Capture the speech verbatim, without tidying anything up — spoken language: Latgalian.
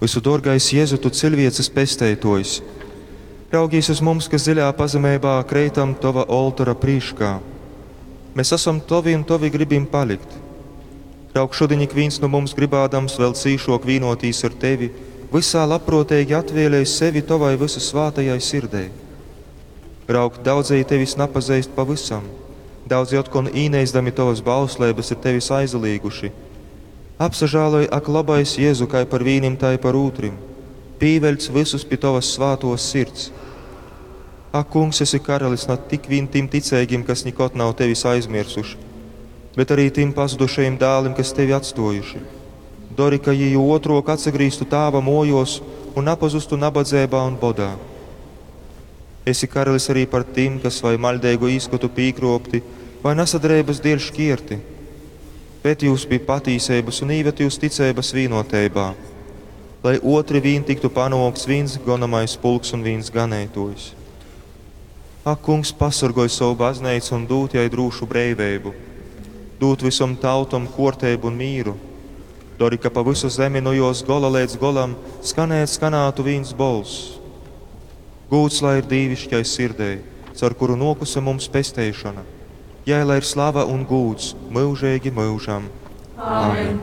Vysudōrgais Jezu, tu ciļvieces pesteitōjs, raugīs uz mums, kas dziļā pazemeibā kreitam tova oltora prīškā. Mēs asam tovi un tovi gribim palikt. Raug, šudiņ ikvīns nu mums gribādams vēl cīšok vīnotīs ar tevi, vysā labprōteigi atvēlej sevi tovai vysusvātajai sirdei. Raug, daudzeji tevis napazeist pavysam, daudzi otkon īneisdami tovas bausleibas ir tevis aizalīguši. Apsažāloj, ak, lobais Jezu, kai par vīnim, tai par ūtrim. Pīveļc vysus pi tovas svātōs sirds. Ak, Kungs, esi karalis na tik vīn tim ticeigim, kas nikod nav tevis aizmirsuši, bet arī tim pazudušajim dālim, kas tevi atstojuši. Dori, ka jī jo otrok atsagrīztu tāva mojos un napazustu nabadzeibā un bodā. Esi karalis arī par tim, kas vai maļdeigu īskotu pīkropti, vai nasadereibas dēļ škierti. Ved jūs pie patīseibas un īved jūs ticeibas vīnoteibā, lai otri vīn tiktu panōkts vīns gonamais pulks un vīns ganeitōjs. Ak, Kungs, pasorgoj savu bazneicu un dūd jai drūšu breiveibu, dūd visom tautom kuorteibu un mīru. Dori, ka pa visu zemi no jos gola leidz golam skanēt skanātu vīns bolss. Gūds lai ir dīvišķai sirdei, caur kuru nōkuse mums pesteišona. Jai lai ir slava un gūds myužeigi myužam. Amen.